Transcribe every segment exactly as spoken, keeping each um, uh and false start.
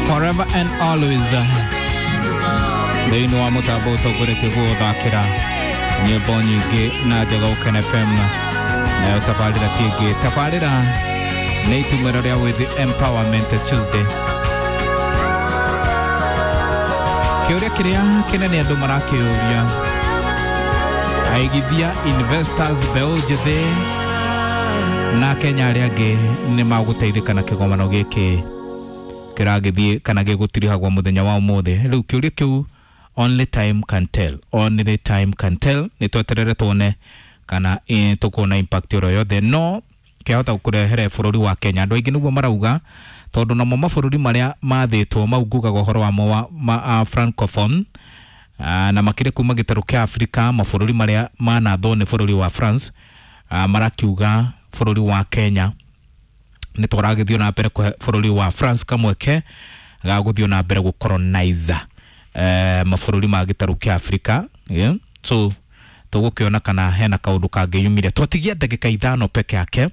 Forever and always thĩinĩ wa mũtambo ũtongoretie gũgũthakĩra nyĩmbo nyingĩ na njega Ũkene F M nayo tabarĩra ti ĩngĩ tabarĩra nĩ itumĩro rĩa With Empowerment Tuesday. Kĩũria kĩrĩa kĩnene andũ marakĩũria, aigithia investors mbeũ njĩthĩ na Kenya arĩa angĩ nĩ magũteithĩka na kĩgomano gĩkĩ kĩragĩthiĩ kana gĩgũtirihagwo mũthenya wa ũmũthĩ. Rĩu kĩũria kĩu only time can tell, only time can tell. Nĩ tweterere tuone kana eh, tũkuona impact oro yothe no kĩahota gũkũrehere bũrũri wa Kenya. Andũ aingĩ nĩguo marauga tondũ namo mabũrũri marĩa mathĩtwo mau ngugaga ũhoro wamo wa ma, uh, francophone uh, na makĩria kuma gĩtarũ kĩa Afrika, mabũrũri marĩa manathwo nĩ bũrũri wa France uh, marakiuga bũrũri wa Kenya nĩ tũragĩthiĩ na mbere kũhe bũrũri wa France kamweke ga gũthiĩ na mbere gũcolonize eh, mabũrũri ma gĩtarũ kĩa Afrika, yeah? So tũgũkĩona kana hena kaũndũ kangĩyumĩria. Twatigia ndagĩka ithano peke yake,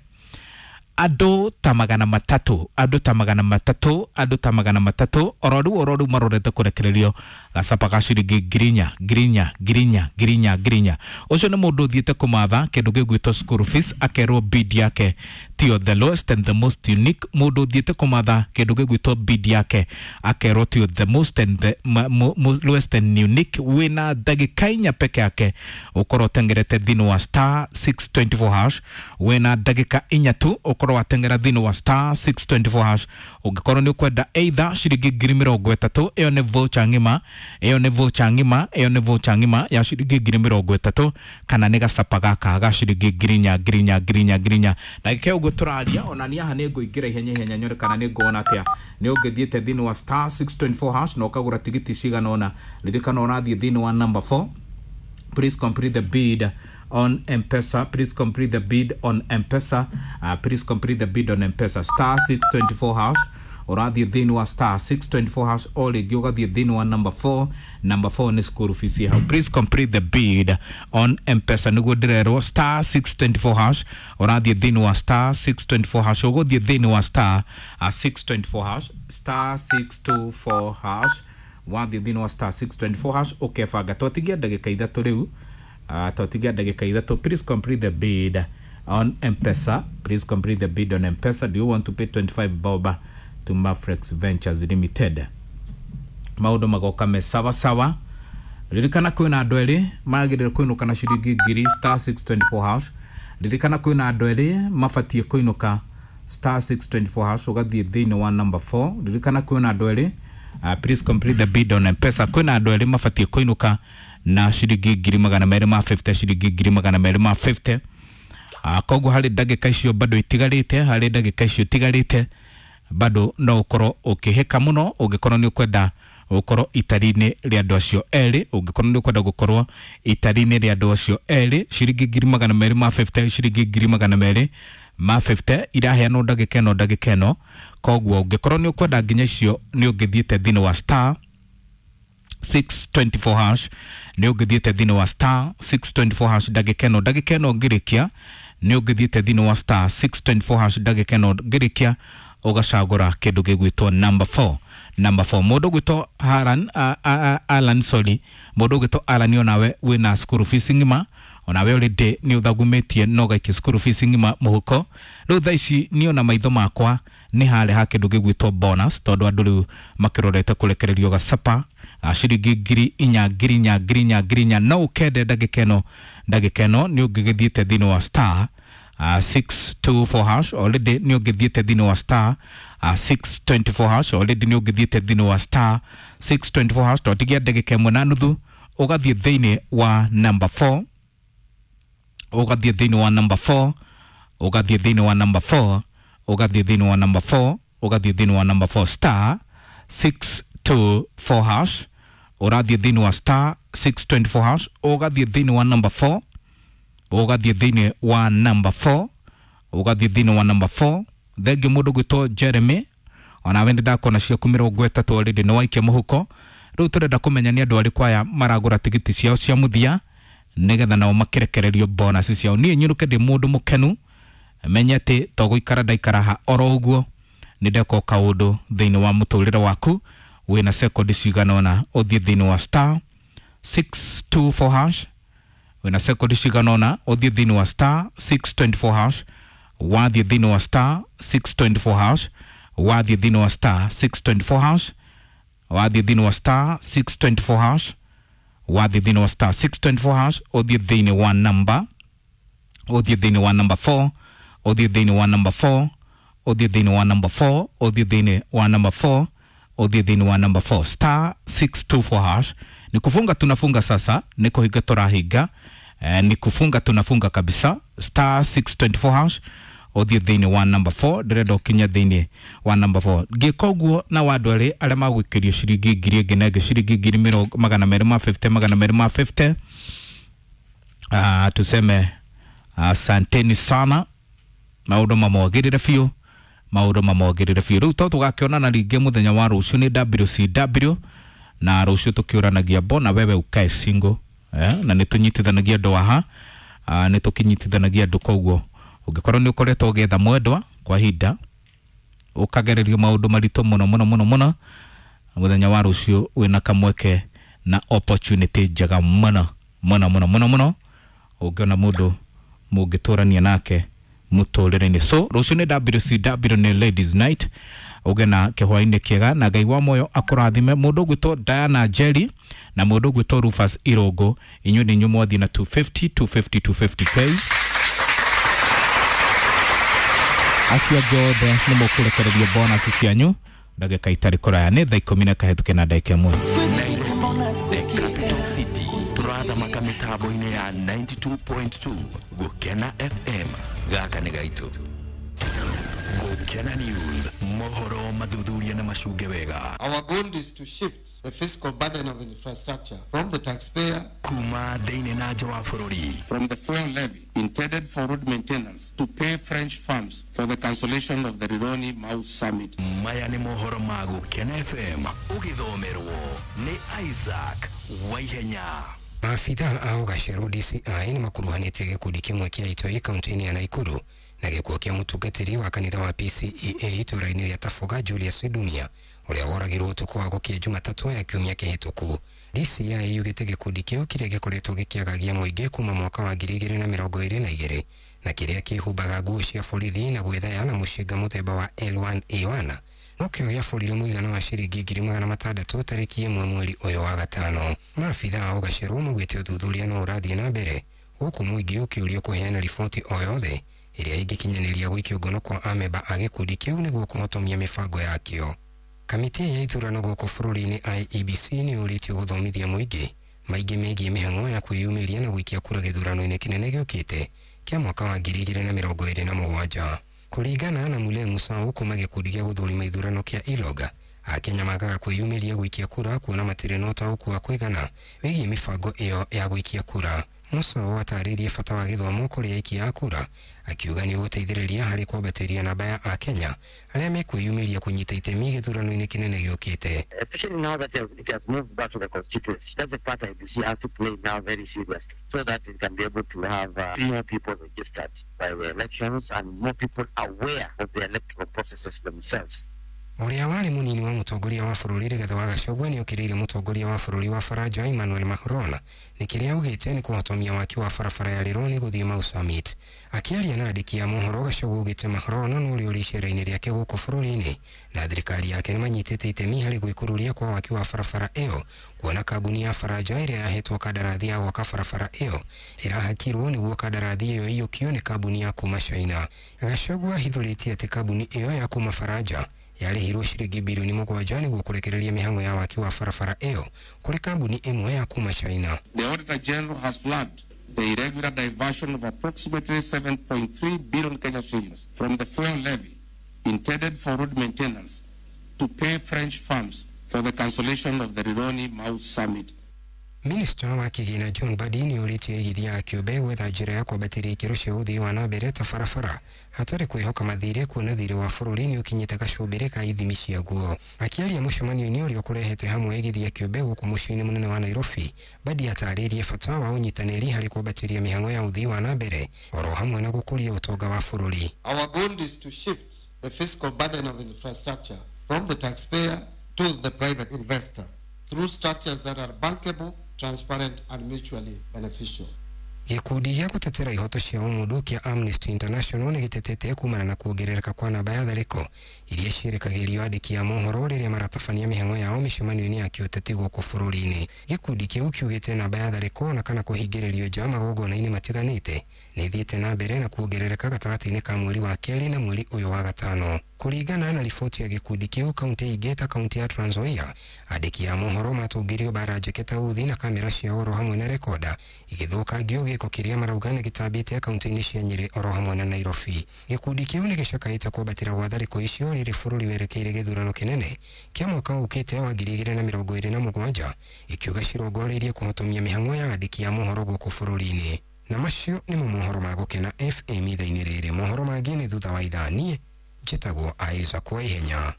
andũ ta magana matatũ, andũ ta magana matatũ, andũ ta magana matatũ oro rĩu oro rĩu marorete kũrekererio gacaba ga ciringi ngiri inya, ngiri inya, ngiri inya, ngiri inya, ngiri inya. Ũcio nĩ mũndũ ũthiĩte kũmatha kĩndũ gĩgwĩtwo school fees akerwo bid yake tiyo the lowest and the most unique. Mũndũ ũthiĩte kũmatha kĩndũ gĩgwĩtwo bid yake akerwo tiyo the most and the ma, mo, mo, lowest and unique. Wĩna ndagĩka inya peke yake ũkorwo ũtengerete thĩinĩ wa star six twenty four hash. Wĩna ndagĩka inya tu ũkorwo watengera thĩinĩ wa star six twenty four hash. Ũngĩkorwo nĩ ũkwenda either ciringi ngiri mĩrongo ĩtatũ, ĩyo nĩ voucher ng'ima, ĩyo nĩ voucher ng'ima, ĩyo nĩ voucher ng'ima ya ciringi ngiri mĩrongo ĩtatũ, kana nĩ gacapa gaka ga ciringi ngiri inya, ngiri inya, ngiri inya, ngiri inya. Ndagĩka ũguo tũraria ona niĩ haha nĩ ngũingĩra ihenya ihenya nyone kana nĩ nguona atĩa. Nĩ ũngĩthiĩte thĩinĩ wa star six twenty four hash na ũkagũra tigiti cigana ũna. Ririkana ũrathiĩ thĩinĩ wa number four. Please complete the bid on M-Pesa. Please complete the bid on M-Pesa. Uh, please complete the bid on M-Pesa. Star six twenty four hash. Ũrathiĩ thĩinĩ wa star six twenty four hash o rĩngĩ ũgathiĩ thĩinĩ wa number four. Number four nĩ school fees hau. Please complete the bid on M-Pesa nĩguo ndĩrerwo star six twenty four hash. Ũrathiĩ thĩinĩ wa star six twenty four hash. Ũgũthiĩ thĩinĩ wa star, uh, six twenty four hash. Star six two four hash. Wathiĩ thĩinĩ wa star six twenty four hash ũkebanga. Twatigia ndagĩka ithatũ rĩu. Uh, twatigia ndagĩka ithatũ. Please complete the bid on M-Pesa. Please complete the bid on M-Pesa. Do you want to pay twenty-five bob to Mafrex Ventures Limited? Maũndũ magoka me sawa sawa. Ririkana kwĩna andũ erĩ magĩrĩire kũinũka na ciringi ngiri star six twenty four hash. Ririkana kwĩna andũ erĩ mabatiĩ kũinũka star six twenty four hash ũgathiĩ thĩinĩ wa number four. Ririkana kwĩna andũ erĩ uh, please complete the bid on M-Pesa. Kwĩna andũ erĩ mabatiĩ kũinũka na ciringi ngiri magana merĩ ma fifty, ciringi ngiri magana merĩ ma fifty. Uh, koguo harĩ ndagĩka icio bado itigarĩte, harĩ ndagĩka icio itigarĩte bado no ũkorwo ũkĩhĩka mũno ũngĩkorwo nĩ ũkwenda gũkorwo itari-inĩ rĩa andũ acio erĩ, ũngĩkorwo nĩ ũkwenda gũkorwo itari-inĩ rĩa andũ acio erĩ, ciringi ngiri magana merĩ ma fifty, ciringi ngiri magana merĩ ma fifty iraheanwo ndagĩka ĩno ndagĩka ĩno. Koguo ũngĩkorwo nĩ ũkwenda nginya icio nĩ ũngĩthiĩte thĩinĩ wa star six twenty four hash, nĩ ũngĩthiĩte thĩinĩ wa star six twenty four hash ndagĩka ĩno ndagĩka ĩno ngĩrĩkia, nĩ ũngĩthiĩte thĩinĩ wa star six twenty four hash ndagĩka ĩno ngĩrĩkia ũgacagũra kĩndũ gĩgwĩtwo number four. Number four mũndũ ũgwĩtwo Alan, uh, uh, Alan sorry, mũndũ ũgwĩtwo Alan onawe wĩna school fees ng'ima, onawe already nĩ ũthagumĩtie no ũgaikia school fees ng'ima mũhuko. Rĩu thaa ici niĩ ona maitho makwa nĩ harĩa ha kĩndũ gĩgwĩtwo bonus, tondũ andũ rĩu makĩrorete kũrekererio gacapa ga ciringi ngiri inya, ngiri inya, ngiri inya, ngiri inya. No ũkende ndagĩka ĩno ndagĩka ĩno nĩ ũngĩgĩthiĩte thĩinĩ wa star Uh, six two four hash already nĩ ũngĩthiĩte thĩinĩ wa star uh, six twenty four hash already nĩ ũngĩthiĩte thĩinĩ wa star six twenty four hash. Twatigia ndagĩka ĩmwe na nuthu ũgathiĩ thĩinĩ wa number four, ũgathiĩ thĩinĩ wa number four, ũgathiĩ thĩinĩ wa number four, ũgathiĩ thĩinĩ wa number four, ũgathiĩ thĩinĩ wa number four star six two four hash, ũrathiĩ thĩinĩ wa star six twenty four hash, ũgathiĩ thĩinĩ wa number four, ũgathiĩ thĩinĩ wa number four, ũgathiĩ thĩinĩ wa number four. Thengiũ mũndũ ũgwĩtwo Jeremy, onawe nĩ ndakona ciaku mĩrongo ĩtatũ already nĩ waikia mũhuko. Rĩu tũrenda kũmenya nĩ andũ arĩkũ aya maragũra tigiti ciao cia mũthia nĩgetha nao makĩrekererio bonus ciao. Niĩ nyũrũke ndĩ mũndũ mũkenu, menye atĩ to gũikara ndaikara ha oro ũguo, Nĩ ndeka kaũndũ thĩinĩ wa mũtũrĩre waku. Wĩna sekondi cigana ũna ũthiĩ thĩinĩ wa star six two four hash. Wĩna sekondi cigana ũna ũthiĩ thĩinĩ wa star six twenty four hash. Wathiĩ thĩinĩ wa star six twenty four hash. Wathiĩ thĩinĩ wa star six twenty four hash. Wathiĩ thĩinĩ wa star six twenty four hash. Wathiĩ thĩinĩ wa star six twenty four hash. Ũthiĩ thĩinĩ wa namba, ũthiĩ thĩinĩ wa number four, ũthiĩ thĩinĩ wa number four, ũthiĩ thĩinĩ wa number four, ũthiĩ thĩinĩ wa number four, ũthiĩ thĩinĩ wa number four, star six two four hash. Ni kufunga tunafunga sasa, ni kuhinga tũrahinga, eh, ni kufunga tunafunga kabisa. Star six twenty four hash, ũthiĩ thĩinĩ wa number four. Ndĩrenda ũkinye thĩinĩ wa number four. Ngĩka ũguo na wa andũ erĩ arĩa magũikĩrio ciringi ngiri ĩngĩ na ĩngĩ, ciringi ngiri mĩrongo magana merĩ ma fifty, magana merĩ ma fifty. Ah, tuseme asanteni sana, maũndũ mamwagĩrĩre biũ, maũndũ mamwagĩrĩre biũ. Rĩu to tũgakĩonana rĩngĩ mũthenya wa rũciũ nĩ W C W, na rũciũ tũkĩũranagia mbona wewe ukae single, eh, na nĩ tũnyitithanagia andũ haha, ah, nĩ tũkĩnyitithanagia andũ. Koguo ũngĩkorwo nĩ ũkoretwo ũgĩetha mwendwa kwa ihinda, ũkagererio maũndũ maritũ mũno mũno mũno mũno, mũthenya wa rũciũ wĩna kamweke na opportunity njega mũno mũno mũno mũno mũno, ũngĩona mũndũ mũngĩtũrania nake mũtũrĩre-inĩ. So rũciũ nĩ W C W, nĩ Ladies Night. Ũgĩe na kĩhwaĩ-inĩ kĩega na Ngai wa muoyo akũrathime. Mũndũ ũgwĩtwo Diana Jerry na mũndũ ũgwĩtwo Rufus Irũngũ, inyuĩ nĩ inyuĩ mwathiĩ na two fifty, two fifty, two fifty K. Acio angĩ othe nĩ mũkũrekererio bonus cianyu ndagĩka itarĩ kũraya. Nĩ thaa ikũmi na kahĩtũke na ndagĩka ĩmwe. The Capital City tũrathamaka mĩtambo-inĩ ya ninety two point two Gũkena F M. Gaka nĩ gaitũ. Gũkena News, mohoro mathuthuria na macunge wega. Our goal is to shift the fiscal burden of infrastructure from the taxpayer kuma thĩinĩ na nja wa bũrũri, from the fuel levy intended for road maintenance to pay French firms for the cancellation of the Rironi Mau Summit. Maya nĩ mohoro ma Gũkena F M, ũgĩthomerwo nĩ Isaac Waihenya. Maabitha a Ũgacerũ D C I nĩ makuruhanĩtie gĩkundi kĩmwe kĩa itoi kaunti-inĩ ya Nakuru na gĩkuũ kĩa mũtungatĩri wa kanitha wa P C E A itũũra-inĩ rĩa Taboga Julius Dunia ũrĩa woragirwo ũtukũ wa gũkĩa Jumatatũ ya kiumia kĩhĩtũku. D C I yugĩte gĩkundi kĩu kĩrĩa gĩkoretwo gĩkĩagagia mũingĩ kuma mwaka wa ngiri igĩrĩ na mĩrongo ĩrĩ na igĩrĩ na kĩrĩa kĩhumbaga nguo cia borithi na gwĩthaya na mũcinga mũthemba wa L one A one no kĩo gĩabũrire mũigana wa ciringi ngiri magana matandatũ tarĩki ĩmwe mweri ũyũ wa gatano. Maabitha a Ũgacerũ maugĩte ũthuthuria no ũrathiĩ na mbere gũkũ mũingĩ ũkĩũrio kũheana riboti o yothe ĩrĩa ĩngĩkinyanĩria gũikio ngono kwa amemba a gĩkundi kĩu nĩguo kũhotomia mĩbango yakĩo. Kamĩtĩ ya ithurano gũkũ bũrũri-inĩ I E B C nĩ yũrĩtio gũthomithia mũingĩ maingĩ megiĩ mĩhang'o ya kwĩyumĩria na gũikia kura gĩthurano-inĩ kĩnene gĩũkĩte kĩa mwaka wa ngiri igĩrĩ na mĩrongo ĩrĩ na mũgwanja. Kũringana na Mule Musau kuma gĩkundi gĩa gũthũrima ithurano kĩa Iloga, Akenya magaga kwĩyumĩria gũikia kura kuona matirĩ na ũtaũku wa kũigana wĩgiĩ mĩbango ĩyo ya gũikia kura. Musau atarĩirie bata wa gĩthomo kũrĩ aikia a kura, akiuga nĩ ũgũteithĩrĩria harĩ kwambatĩria namba ya Akenya arĩa mekwĩyumĩria kũnyita itemi gĩthurano-inĩ kĩnene gĩũkĩte. Especially now that it has moved back to the constituency, that's the part I B C has to play now very seriously so that it can be able to have, uh, more people registered by the elections and more people aware of the electoral processes themselves. Ũrĩa warĩ mũnini wa mũtongoria wa bũrũri Rigathĩ wa Gachagua nĩokĩrĩire mũtongoria wa bũrũri wa Faranja Emmanuel Macron nĩ kĩrĩa augĩte nĩ kũhotomia waki wa barabara ya Rironi gũthiĩ Mau Summit. Akĩaria na andĩki a mohoro, Gachagua augĩte Macron no ũrĩa ũrĩ icera-inĩ rĩake gũkũ bũrũri-inĩ na thirikari yake nĩmanyitĩte itemi harĩ gwĩkururia kwa waki wa barabara ĩyo, kuona kambuni ya Faranja ĩrĩa yahetwo kandarathi ya gwaka barabara ĩyo ĩrahakirwo nĩguo kandarathi ĩyo ĩiyũkio nĩ kambuni ya kuma China. Gachagua ahithũrĩtie atĩ kambuni ĩyo ya kuma Faranja yarĩhirwo ciringi bilioni mũgwanja nĩguo kũrekereria mĩhang'o ya waki wa barabara ĩyo kũrĩ kambuni ĩmwe ya kuma China. The Auditor General has flagged the irregular diversion of approximately seven point three billion Kenya shillings from the fuel levy intended for road maintenance to pay French firms for the cancellation of the Rironi Mau Summit. Minista wa kĩgĩna John Mbadi nĩũrĩtie aigithia a kĩũmbe gwetha njĩra ya kwambatĩria ikĩro cia ũthii wa na mbere ta barabara hatarĩ kwĩhoka mathirĩ, kuona thirĩ wa bũrũri nĩũkinyĩte gacũmbĩrĩ ka ithimi ciaguo. Akĩaria mũcemanio-inĩ ũrĩa ũkũrehete hamwe aigithia kĩũmbe gũkũ mũciĩ-inĩ mũnene wa Nairobi, Mbadi atarĩirie bata wa ũnyitanĩri harĩ kwambatĩria mĩhang'o ya ũthii wa na mbere oro hamwe na gũkũria ũtonga wa bũrũri. Our goal is to shift the fiscal burden of infrastructure from the taxpayer to the private investor through structures that are bankable, transparent, and mutually beneficial. Gĩkundi gĩa gũtetera ihoto cia ũmũndũ kĩa Amnesty International nĩ gĩtetete kumana na kuongerereka kwa namba ya tharĩko iria ciĩrekagĩrio andĩki a mohoro rĩrĩa maratabania mĩhang'o yao mĩcemanio-inĩ ya kĩũteti gũkũ bũrũri-inĩ. Gĩkundi kĩu kiugĩte namba ya tharĩko na kana kũhingĩrĩrio nja magongona-inĩ matiganĩte nĩ ithiĩte na mbere na kuongerereka gatagatĩ-inĩ ka mweri wa kerĩ na mweri ũyũ wa gatano. Kũringana na riboti ya gĩkundi kĩu, kaunti ingĩ ta kaunti ya Trans Nzoia, andĩki a mohoro matũngĩrio mbara njeke ta uthi na kamera cia oro hamwe na rekoda igĩthũkangio gĩko kĩrĩa marauga nĩ gĩtambĩte kaunti-inĩ cia Nyĩrĩ oro hamwe na Nairobi. Gĩkundi kĩu nĩ gĩcakaĩte kwambatĩra gwa tharĩko icio rĩrĩ bũrũri werekeire gĩthurano kĩnene kĩa mwaka ũkĩte wa ngiri igĩrĩ na mĩrongo ĩrĩ na mũgwanja, ikiuga cirongoreirie kũhotomia mĩhang'o ya andĩki a mohoro gũkũ bũrũri-inĩ. Na macio nĩmo mohoro ma Gũkena F M ithaa-inĩ rĩrĩ. Mohoro mangĩ nĩ thutha wa ithaa. Niĩ njĩtagwo Isaac Waihenya.